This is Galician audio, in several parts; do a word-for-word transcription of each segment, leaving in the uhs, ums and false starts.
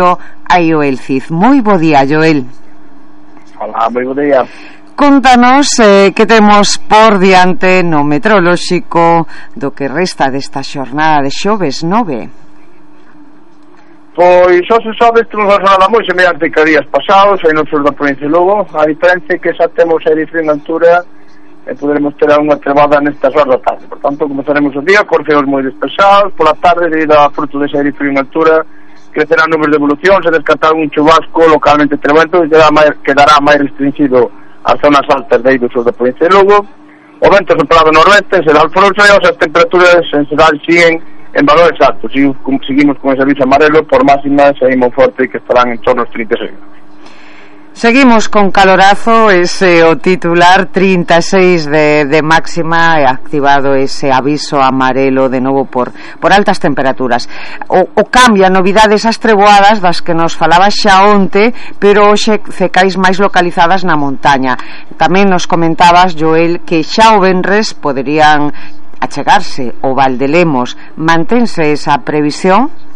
a Joel Cid. Moi bo día, Joel. Hola, moi bo día. Contanos eh, que temos por diante no meteorolóxico do que resta desta xornada de xoves nove. Pois, hoxe xoves temos unha xornada moi semellante que días pasados aí no sur da provincia de Lugo. A diferencia é que xa temos aire frío en altura e poderemos ter unha trevada nestas horas da tarde. Por tanto, comenzaremos o día con ceos moi despesados. Por la tarde, debido a fruto dese aire frío en altura, crecerán nubes de evolución, se descartará un chubasco localmente tremendo e quedará máis, quedará máis restringido ás zonas altas de aí do sur da provincia de Lugo. O vento soprado noroeste será alforoso e as temperaturas en xeral siguen en valores altos. Seguimos, seguimos con ese aviso amarelo por máximas aí moi forte que estarán en torno aos trinta e seis. Seguimos con calorazo, ese o titular trinta e seis de, de máxima, e activado ese aviso amarelo de novo por, por altas temperaturas. O, o cambia, novidades as treboadas das que nos falaba xa onte, pero hoxe cecais máis localizadas na montaña. Tamén nos comentabas, Joel, que xa o venres poderían achegarse o Val de Lemos. Mantense esa previsión?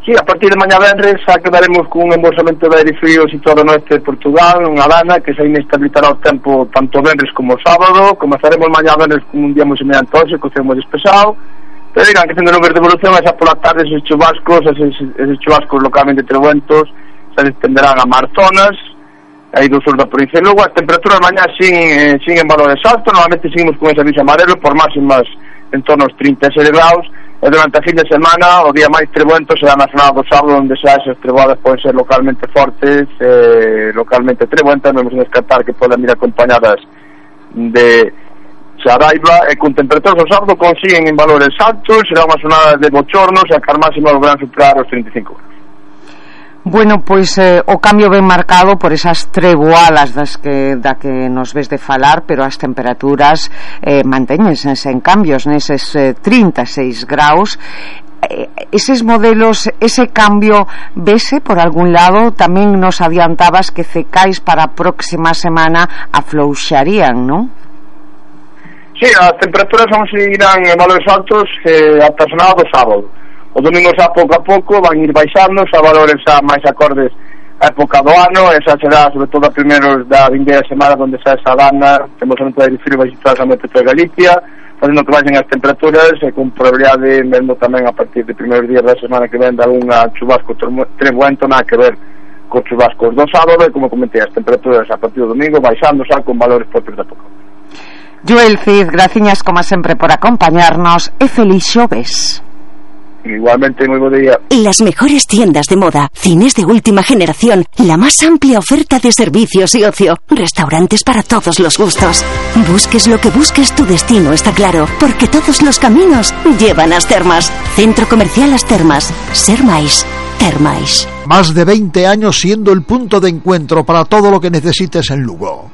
Sí, a partir de mañá venres xa quedaremos con un embolsamento de aire frío situado no oeste de Portugal, unha dana que se inestabilizará o tempo tanto venres como sábado. Comezaremos mañá venres con un día moi semellante hoxe, co ceo moi despexado, pero digan que tendo nubes de evolución e xa pola tarde eses chubascos, eses, eses chubascos localmente trebuentos se extenderán a mar zonas aí do sur da provincia de Lugo. As temperaturas mañá sin, eh, sin en valores altos, normalmente seguimos con ese aviso amarelo por máximas en torno aos trinta e seis graus. E durante a fin de semana, o día máis trebuento será na jornada do sábado, onde xa esas treboadas poden ser localmente fortes, eh, localmente trebuentas. Non vamos a descartar que poden ir acompañadas de xaraiba, e con temperaturas o sábado consiguen en valores altos. Será unha jornada de bochornos e a car máxima volverán superar os trinta e cinco graus. Bueno, pois eh, o cambio ben marcado por esas treboadas das que, da que nos ves de falar, pero as temperaturas eh, mantéñense en cambios neses eh, trinta e seis graus. Eh, eses modelos, ese cambio vese por algún lado? Tamén nos adiantabas que cecais para a próxima semana aflouxarían, non? Sí, as temperaturas vão seguirán en valores altos eh, ata a jornada do sábado. O domingo xa pouco a pouco van ir baixando xa valores xa máis acordes a época do ano, e xa será sobre todo a primeiros da vindeira semana onde xa esa dana, temos a de frío vai situar a metro de Galicia, facendo que baixen as temperaturas e con probabilidade mesmo tamén a partir de primeiros días da semana que ven de algunha chubasco trebuento, nada que ver con chubascos do sábado, e como comentei, as temperaturas a partir do domingo baixando xa con valores propios da época. Joel Cid, graciñas como sempre por acompañarnos e feliz xoves. Igualmente, muy buen día. Las mejores tiendas de moda, cines de última generación, la más amplia oferta de servicios y ocio, restaurantes para todos los gustos. Busques lo que busques, tu destino está claro, porque todos los caminos llevan a As Termas. Centro Comercial As Termas. Ser máis, ter máis. Más de veinte años siendo el punto de encuentro para todo lo que necesites en Lugo.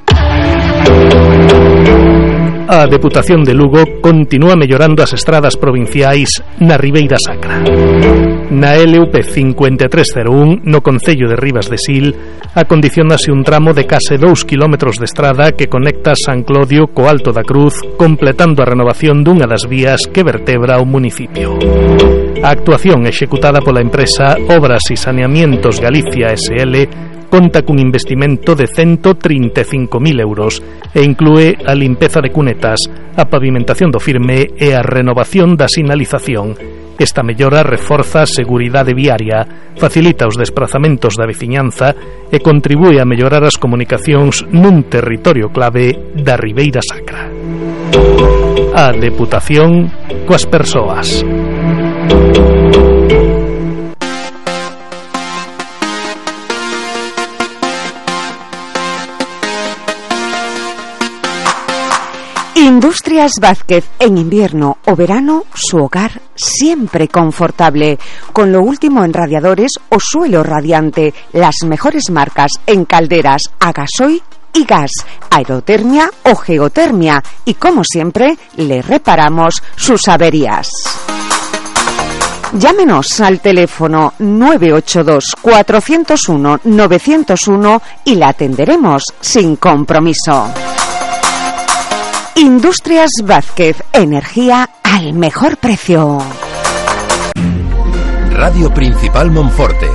A Deputación de Lugo continúa mellorando as estradas provinciais na Ribeira Sacra. Na L U P cinco tres cero un, no concello de Ribas de Sil, acondicionase un tramo de case dous kilómetros de estrada que conecta San Clodio co Alto da Cruz, completando a renovación dunha das vías que vertebra o municipio. A actuación executada pola empresa Obras e Saneamientos Galicia S L conta cun investimento de ciento trinta e cinco mil euros e inclúe a limpeza de cunetas, a pavimentación do firme e a renovación da sinalización. Esta mellora reforza a seguridade viaria, facilita os desprazamentos da veciñanza e contribúe a mellorar as comunicacións nun territorio clave da Ribeira Sacra. A Deputación coas persoas. Industrias Vázquez, en invierno o verano, su hogar siempre confortable. Con lo último en radiadores o suelo radiante, las mejores marcas en calderas a gasoil y gas, aerotermia o geotermia. Y como siempre, le reparamos sus averías. Llámenos al teléfono nueve ocho dos, cuatro cero uno, nueve cero uno y la atenderemos sin compromiso. Industrias Vázquez, energía al mejor precio. Radio Principal Monforte.